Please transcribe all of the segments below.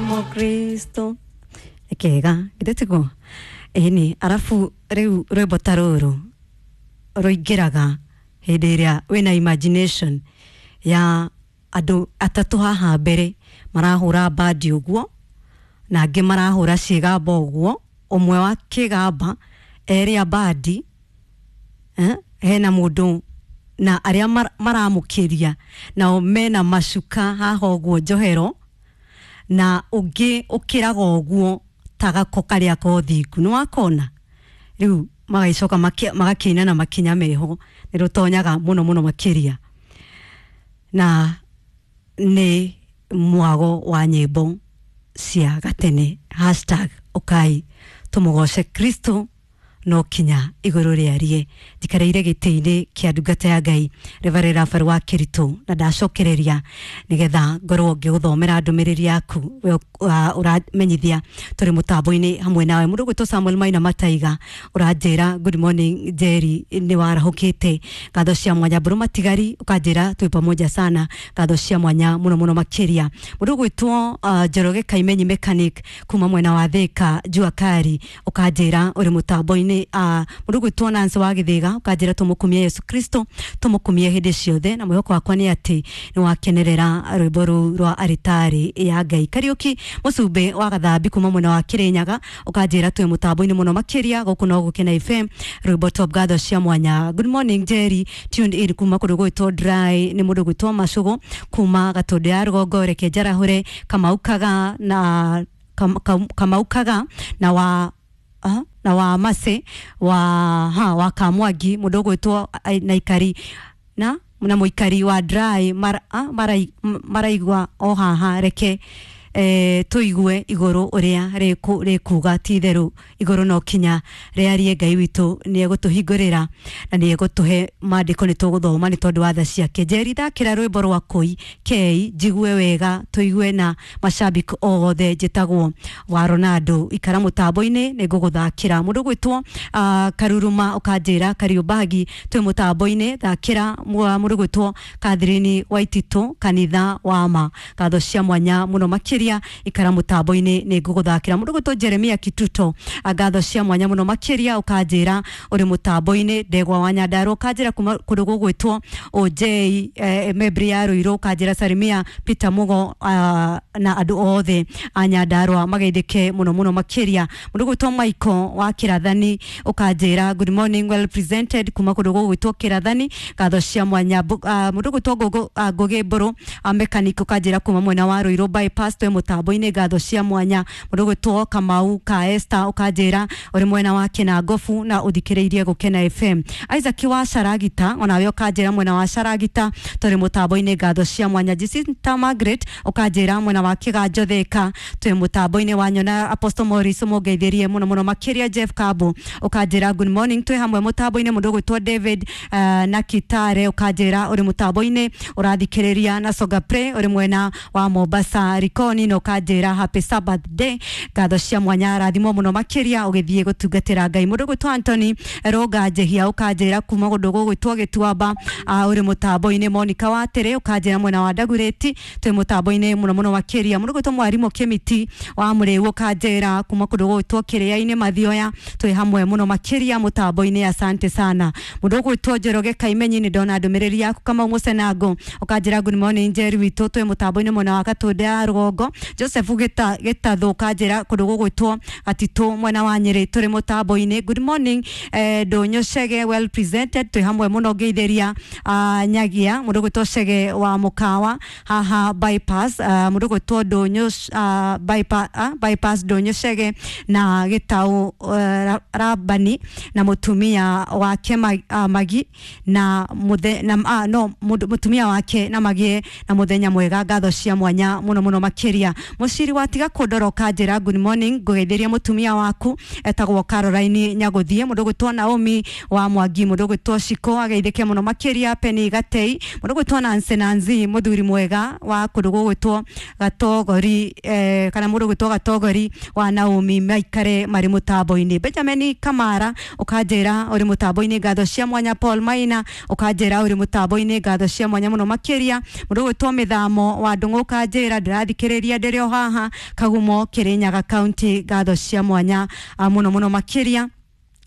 Mukristo kega githĩ tiguo? Ĩni, arabu rĩu rwĩmbo ta rũrũ rũingĩraga hĩndĩ ĩrĩa wĩna imagination ya andũ atatũ haha mbere marahũra bandi ũguo na angĩ marahũra ciĩgamba ũguo, ũmwe wa kĩgamba erĩ a bandi, hena mũndũ na arĩa maramũkĩria nao mena macuka haha ũguo njohero, na ũngĩ ũkĩraga ũguo ta gako karĩa ka ũthingu nĩ wakona. Rĩu magagĩcoka magakĩina na makinya meho, nĩ rũtonyaga mũno mũno makĩria, na nĩ mwago wa nyĩmbo cia gatene hashtag ũkai tũmũgoce Kristo no kinya igũrũ rĩarie. Njikarĩire gĩtĩ-inĩ kĩa ndungata ya Ngai Reverend Raphael wa Kĩritũ, na ndacokereria nĩgetha ngorwo ngĩgũthomera ndũmĩrĩri yaku we ũramenyithia tũrĩ mũtambo-inĩ hamwe nawe. Mũndũ ũgwĩtwo Samuel Maina Mataiga ũranjĩra good morning Jerry, nĩ warahũkĩte, ngatho cia mwanya. Mbũrũ Matigari ũkanjĩra twĩ pamoja sana, ngatho cia mwanya mũno mũno makĩria. Mũndũ ũgwĩtwo Njoroge Kaimenyi mechanic kuma mwena wa Thika Jua Kari ũkanjĩra ũrĩ mũtambo-inĩ. Mũndũ ũgwĩtwo Nancy wa Gĩthĩga ũkanjĩra tũmũkumie Yesu Kristo, tũmũkumie hĩndĩ ciothe, na mwĩhoko wakwa nĩ atĩ nĩ wakenerera rwĩmbo rũu rwa aritari ya Ngai. Kariũki Mũcumbĩ wa Gathambi kuma mwena wa Kĩrĩnyaga ũkanjĩra twĩ mũtambo-inĩ mũno makĩria gũkũ no Gũkena FM, rwĩmbo top, ngatho cia mwanya. Good morning Jerry, tuned in kuma kũndũ gwĩtwo Dry, nĩ mũndũ gwĩtwo Macũgũ kuma Gatũndũ ya rũgongo. Reke njarahũre Kamau Kaga na Kamau Kaga na wa na wa Mase wa ha wa Kamwangi, mũndũ ũgwĩtwo na ikari na mũikari wa Dry maraigua o haha. Reke tũigue igũrũ ũrĩa rĩkuga, ti itherũ igũrũ no kinya rĩarie. Ngai witũ nĩ egũtũhingũrĩra na nĩ egũtũhe maandĩko nĩ tũgũthoma nĩ tondũ wa tha ciake. Njeri, thakĩra rwĩmbo rwa kũi kei njigue wega, tũigue na mashabiki othe. Njĩtagwo wa Ronaldo, ikara mũtambo-inĩ nĩ ngũgũthakĩra. Mũndũ ũgwĩtwo Karuruma ũkanjĩra Kariũmbagi twĩ mũtambo-inĩ, thakĩra mũndũ ũgwĩtwo Catherine Waititũ kanitha wa ma, ngatho cia mwanya mũno makĩria, ikara mũtambo-inĩ nĩ ngũgũthakĩra. Mũndũ ũgwĩtwo Jeremia Kituto, ngatho cia mwanya mũno makĩria, ũkanjĩra ũrĩ mũtambo-inĩ. Ndegwa wa Nyandarua ũkanjĩra kuma kũndũ gũgwĩtwo OJ Mebri ya Ruiru, ũkanjĩra Salimia Peter Mugo na andũ othe a Nyandarua mageithĩke mũno mũno makĩria. Mũndũ ũgwĩtwo Michael wa Kĩrathani ũkanjĩra good morning, well presented kuma kũndũ gũgwĩtwo Kĩrathani, ngatho cia mwanya. Mũndũ ũgwĩtwo Ngũgĩ Mbũrũ mechanic ũkanjĩra kuma mwena wa Ruiru bypass twĩ mũtambo-inĩ, ngatho cia mwanya. Mũndũ ũgwĩtwo Kamau ka Esther ũkanjĩra ũrĩ mwena wa Kĩnangobu na ũthikĩrĩirie Gũkena FM. Isaac wa Caragita onawe ũkanjĩra mwena wa Caragita tũrĩ mũtambo-inĩ, ngatho cia mwanya. Jacinta Margaret ũkanjĩra mwena wa Kĩganjo Thika twĩ mũtambo-inĩ. Wa nyona Apostle Morris mũngeithĩrie mũno mũno makĩria. Jeff Kabo ũkanjĩra good morning, twĩ hamwe mũtambo-inĩ. Mũndũ ũgwĩtwo David na Kitare ũkanjĩra ũrĩ mũtambo-inĩ ũrathikĩrĩria na Soga Play, ũrĩ mwena wa Mombasa Likoni, na ũkanjĩra happy Sabbath day, ngatho cia mwanya, rathimwo mũno makĩria ũgĩthiĩ gũtungatĩra Ngai. Mũndũ ũgwĩtwo Anthony Rũnga Njehia ũkanjĩra kuma kũndũ gũgwĩtwo Gĩtuamba ũrĩ mũtambo-inĩ. Monica Watĩrĩ ũkanjĩra mwena wa Ndagurĩti twĩ mũtambo-inĩ mũno mũno makĩria. Mũndũ ũgwĩtwo Mwarimũ Kĩmiti wa Mũrĩu ũkanjĩra kuma kũndũ gũgwĩtwo Kĩrĩa-inĩ Mathioya twĩ hamwe mũno makĩria mũtambo-inĩ, asante sana. Mũndũ ũgwĩtwo Njoroge Kaimenyi nĩ ndona ndũmĩrĩri yaku. Kamau Mũcenango ũkanjĩra good morning Njeri witũ, twĩ mũtambo-inĩ mwena wa Gatũndũ ya rũgongo. Joseph Gĩtathũ ũkanjĩra kũndũ gũgwĩtwo Gatitũ mwena wa Nyĩrĩ tũrĩ mũtambo-inĩ. Good morning Ndũnyũ Chege, well presented, twĩ hamwe mũno, ngeithĩria Nyagia. Mũndũ ũgwĩtwo Chege wa Mũkawa haha bypass, mũndũ ũgwĩtwo Ndũnyũ bypass Ndũnyũ Chege na Gĩtaũ Rabani na mũtumia wake Magi na muthe, na no mũtumia wake na magie na mũthenya mwega, ngatho cia mwanya mũno mũno makĩria. Mũciri watiga kũndora ũkanjĩra good morning, ngũgeithĩria mũtumia waku etagwo Caroline Nyagũthiĩ. Mũndũ ũgwĩtwo Naomi wa Mwangi, mũndũ ũgwĩtwo Shiko ageithĩke mũno makĩria. Penny Gatei, mũndũ ũgwĩtwo Nancy Nancy mũthuri mwega wa kũndũ gũgwĩtwo Gatogori kana mũndũ ũgwĩtwo Gatogori wa Naomi maikare marĩ mũtambo-inĩ. Benjamin Kamara ũkanjĩra ũrĩ mũtambo-inĩ, ngatho cia mwanya. Paul Maina ũkanjĩra ũrĩ mũtambo-inĩ, ngatho cia mwanya mũno makĩria. Mũndũ ũgwĩtwo Mĩthamo wa Ndũng'ũ ũkanjĩra ndĩrathikĩrĩria. Makiria ndĩrĩ o haha Kagumo Kirinyaga County. Ngatho cia mwanya muno muno makiria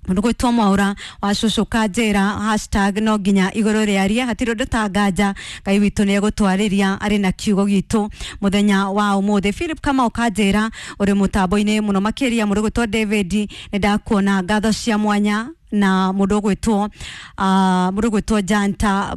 mundu gwitwo Mwaura wa cucu kanjira hashtag no nginya iguru riarie hatiri undu tanganja Ngai witu ni egutwariria ari na kiugo gitu muthenya wa umuthi. Philip Kamau kanjira uri mutambo-ini muno makiria mundu gwitwo David ni ndakuona, ngatho cia mwanya na mundu gwitwo Janta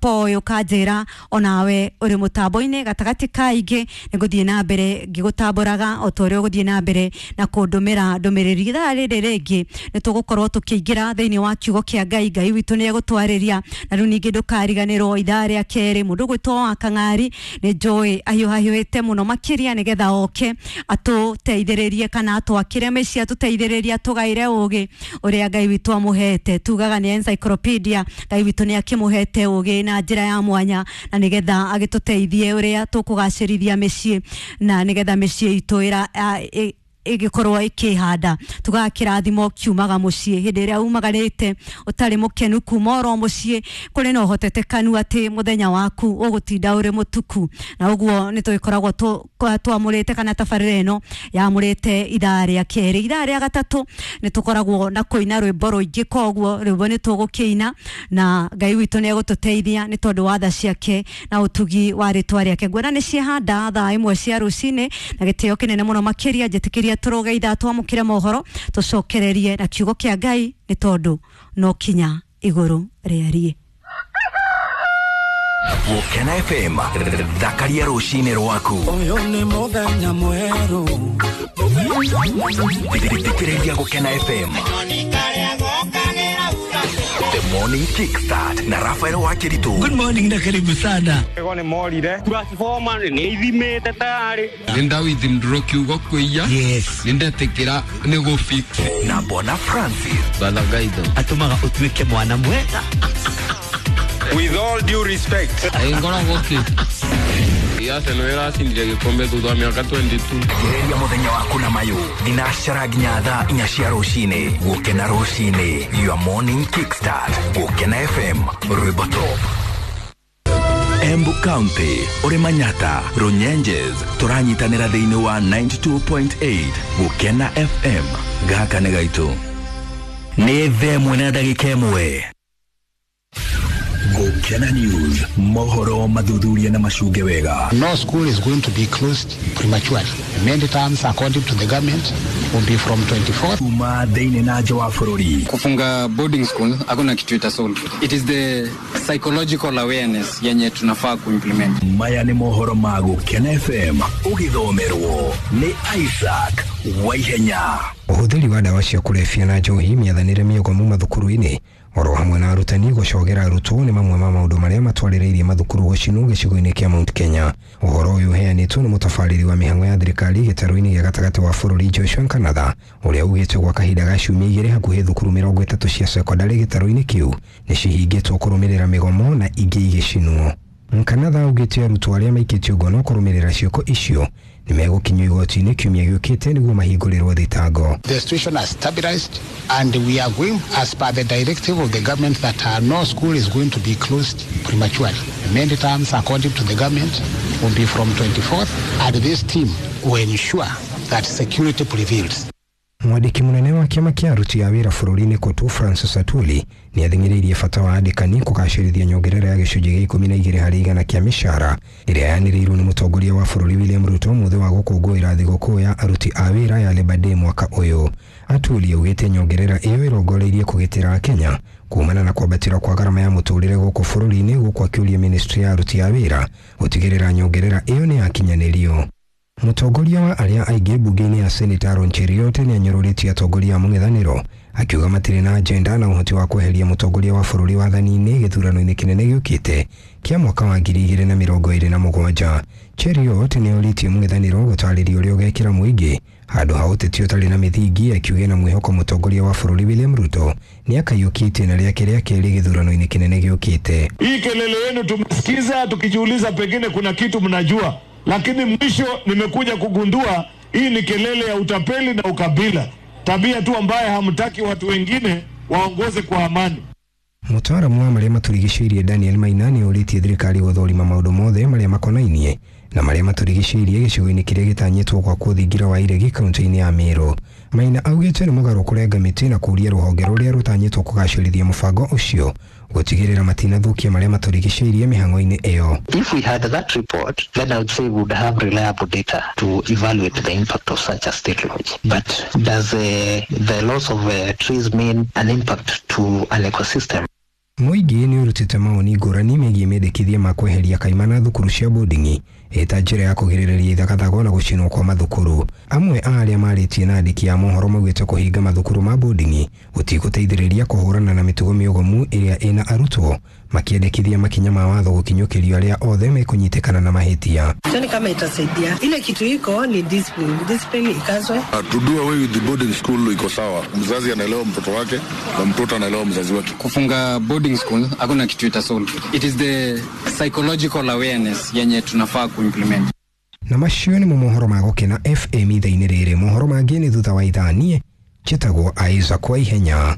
Poyo kanjira onawe uri mutambo-ini gatagati ka ingi ni guthie na mbere ngigutamburaga o ta uria uguthie na mbere na kundumira ndumiriri. Ithaa riri ringi ni tugukorwo tukiingira thiini wa kiugo kia Ngai. Ngai witu ni egutwariria na riu ningi ndukariganirwo ithaa ria keri mundu gwitwo wa Kang'ari ni njui ahiũhahiũhĩte muno makiria nigetha oke atuteithĩrĩrie kana atwakire mĩciĩ atuteithĩrĩrie atũgaĩre ũgĩ ũrĩa Ngai witũ amuhete. Tugaga ni encyclopedia, Ngai witũ ni akimuhete ũgĩ na njĩra ya mwanya na nigetha agĩtũteithie ũrĩa tũkũgacĩrithia mĩciĩ na nigetha mĩciĩ itũ ĩgĩkorwo ĩkĩhanda. Tugaga kĩrathimo kiumaga mũciĩ hĩndĩ ĩrĩa umagarĩte ũtarĩ mũkenu kuma oro mũciĩ kũrĩ na ũhotetekanu atĩ mũthenya waku ũgũtinda ũrĩ mũtuku, na ũguo nĩ tũgĩkoragwo twamũrĩte kana tabarĩra ĩno yamũrĩte ithaa rĩa kerĩ. Ithaa rĩa gatatũ nĩ tũkoragwo na kũina rwĩmbo rũingĩ, koguo rwĩmbo nĩ tũgũkĩina na Ngai witũ nĩ egũtũteithia nĩ tondũ wa tha ciake na ũtugi wa rĩtwa rĩake. Nguona nĩ ciahanda thaa 1 cia rũcinĩ na gĩtĩo kĩnene mũno makĩria njĩtĩkĩria turuge ithaa twamũkĩre mohoro tũcokererie na kiugo kĩa Ngai nĩ tondũ no kinya igũrũ rĩarie. Gũkena FM thakaria rũcinĩ rwaku. Ũyũ nĩ mũthenya mwerũ. Thikĩrĩria Gũkena FM The Morning Kickstart na Rafael Wakiritu. Good morning na karibu sana. Ego ni morire transformer ni ithimite tayari. Ninda withdraw kiugo kuiya. Yes. Nindetikira ni go fix. Na Bona Francis. Balagaitho. Atumaga utuike mwana mwega. With all due respect. Ngora goki. Ya seno era cindire gikombe thutha wa miaka 22. Geria muthenya waku na mayu thinacara nginya thaa 4 cia rucini. Gukena rucini, your morning kickstart. Gukena FM, rwimbo top. Embu County, uri Manyata, Runyenjes, turanyitanira thiini wa 92.8 Gukena FM. Gaka nĩ gaitu. Nĩ thaa ĩmwe na ndagĩka ĩmwe. Gukena News, mohoro mathuthuria na macunge wega. No school is going to be closed prematurely. Many terms, according to the government, will be from 24th. Kuma thĩinĩ na nja wa bũrũri. Kufunga boarding school hakuna kitu ita solve. It is the psychological awareness yenye tunafaa kuimplement. Maya nĩ mohoro ma Gukena FM ũgĩthomerwo nĩ Isaac Waihenya. Ũhũthĩri wa ndawa cia kũrebia na njohi, mĩathanĩre mĩogomu mathukuru-inĩ oro hamwe na arutani gũcogera arutwo nĩ mamwe ma maũndũ marĩa matwarĩrĩirie mathukuru gũcinwo gĩcigo-inĩ kĩa Mount Kenya. Ũhoro ũyũ ũheanĩtwo nĩ mũtabarĩri wa mĩhang'o ya thirikari gĩtarũ-inĩ gĩa gatagatĩ wa bũrũri Joshua Nkanatha, ũrĩa ugĩte gwa kahinda ga ciumia igĩrĩ hakuhĩ thukuru 30 cia cekondarĩ gĩtarũ-inĩ kĩu nĩ cihingĩtwo kũrũmĩrĩra mĩgomo na ingĩ igĩcinwo. Nkanatha augĩte arutwo arĩa maikĩtio ngono kũrũmĩrĩra ciĩko icio nĩ megũkinyio igoti-inĩ kiumia gĩũkĩte nĩguo mahingũrĩrwo thitango. The situation has stabilized and we are going as per the directive of the government that no school is going to be closed prematurely. Many terms, according to the government, will be from 24th, and this team will ensure that security prevails. Mwandĩki mũnene wa kĩama kĩa aruti a wĩra bũrũri-inĩ KOTU Francis Atwoli nĩ athing'ĩrĩirie bata wa andĩkani kũgacĩrithia nyongerera ya gĩcunjĩ gĩa 12 harĩ igana kĩa mĩcara ĩrĩa yanĩrĩirwo nĩ mũtongoria wa bũrũri William Ruto mũthĩ wa gũkũngũĩra thigũkũ ya aruti a wĩra ya Labour Day mwaka ũyũ. Atwoli augĩte nyongerera ĩyo ĩrongoreirie kũgitĩra Akenya kumana na kwambatĩra kwa garama ya mũtũrĩre gũkũ bũrũri-inĩ, gũkũ akĩũria ministry ya aruti a wĩra gũtigĩrĩra nyongerera ĩyo nĩ yakinyanĩrio. Mũtongoria wa arĩa aingĩ mbunge-inĩ ya Senate Aaron Cheruiyot nĩ anyũrũrĩtie atongoria a mũng'ethanĩro akiuga matirĩ na agenda na ũhoti wa kweheria mũtongoria wa bũrũri wathani-inĩ gĩthurano-inĩ kĩnene gĩũkĩte kĩa mwaka wa 2027. Cheruiyot nĩ orĩtie mũng'ethanĩro gũtarĩria ũrĩa ũgekĩra mũingĩ handũ ha ũteti ũtarĩ na mĩthingi, akiuga na mwĩhoko mũtongoria wa bũrũri William Ruto nĩ akaiyũkia itĩna rĩake rĩa kerĩ gĩthurano-inĩ kĩnene gĩũkĩte. Hii kelele yenu tumesikiza tukijiuliza pengine kuna kitu mnajua, lakini mwisho nimekuja kugundua hii ni kelele ya utapeli na ukabila, tabia tu ambaye hamtaki watu wengine waongoze kwa amani. Mũtaaramu wa marĩa matũrigicĩirie Daniel Maina nĩ orĩtie thirikari gũthũrima maũndũ mothe marĩa makonainie Na marĩa matũrigicĩirie gĩcigo-inĩ kĩrĩa gĩtanyĩtwo gwakwo thingira wa iregi kaunti-inĩ ya Meru. Maina augĩte nĩ mũgarũ kũrenga mĩtĩ na kũũria rũhonge rũrĩa rũtanyĩtwo kũgacĩrithia mũbango ũcio gũtigĩrĩra matinathũkia marĩa matũrigicĩirie mĩhang'o-inĩ ĩyo. If we had that report, then I would say we would have reliable data to evaluate the impact of such a state launch. But does the loss of trees mean an impact to an ecosystem? Mũingĩ nĩ ũrutĩte mawoni ngũrani megiĩ mendekithia ma kweheria kaimana thukuru cia boarding ĩta njĩra ya kũgirĩrĩria ithagathago na gũcinwo kwa mathukuru. Amwe a arĩa marĩtie na andĩki a mohoro maugĩte kũhinga mathukuru ma boarding gũtigũteithĩrĩria kũhũrana na mĩtugo mĩogomu ĩrĩa ĩna arutwo, makĩendekithia makinya ma watho gũkinyũkĩrio arĩa othe mekũnyitĩkana na mahĩtia. Sioni kama itasaidia. Ile kitu iko ni discipline, discipline ikazwe. To do away with the boarding school iko sawa, mzazi anaelewa mtoto wake na mtoto anaelewa mzazi wake. Kufunga boarding school hakuna kitu itasolve. It is the psychological awareness yenye tunafaa kuimplement. Na macio nĩmo mohoro ma Gũkena FM ithaa-inĩ rĩrĩ. Mohoro mangĩ nĩ thutha wa ithaa. Niĩ njĩtagwo Isaac kwa ihenya.